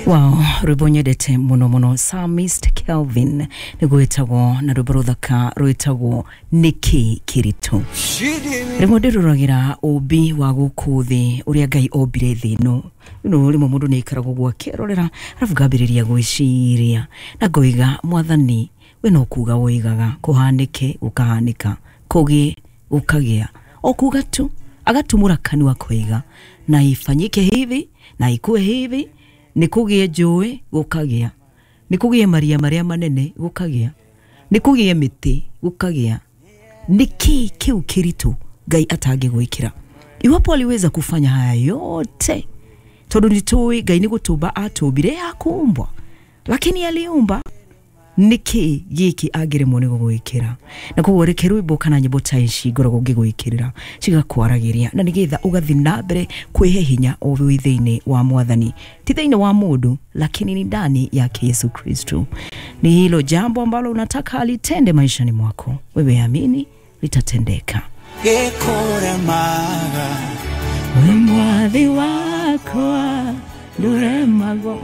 Wow, rwĩmbo nyendete mũno mũno, Psalmist Kelvin nĩguo wĩtagwo, na rwĩmbo rũthaka rwĩtagwo "Nĩkĩ Kĩritũ". Rĩmwe ndĩroragĩra ũmbi wa gũkũ thĩ, ũrĩa Ngai ombire thĩ ĩno. No rĩmwe mũndũ nĩ aikaragwo ũguo akĩrorera, arabu ngambĩrĩria gwĩciria na ngoiga, "Mwathani, we no kuga woigaga kũhanĩke, gũkahanĩka, kũgĩe, gũkagĩa." O kuga tu, agatumũra kanua koiga na ifanyike hivi na ikue hivi, nĩ kũgĩe njũĩ, gũkagĩa, nĩ kũgĩe maria marĩa manene, gũkagĩa, nĩ kũgĩe mĩtĩ, gũkagĩa. Nĩ kĩĩ kĩu kĩritũ Ngai atangĩgwĩkĩra iwapo aliweza kufanya haya yote? Tondũ nĩ tũĩ Ngai nĩ gũtũmba atũmbire, hakuumbwa lakini aliumba. Nĩkĩ gĩkĩ angĩremwo nĩ gũgwĩkĩra? Na koguo reke rwĩmbo kana nyĩmbo ta ici ngoragwo ngĩgwĩkĩrĩra cigakwaragĩria, na nĩgetha ũgathiĩ na mbere kwĩhe hinya o wĩ thĩinĩ wa Mwathani, ti thĩinĩ wa mũndũ, lakini ni ndani yake Yesu Kristo. Ni hilo jambo ambalo unataka alitende maishani mwako, wewe amini litatendeka. Gĩkũremaga. We Mwathi wakwa ndũremagwo.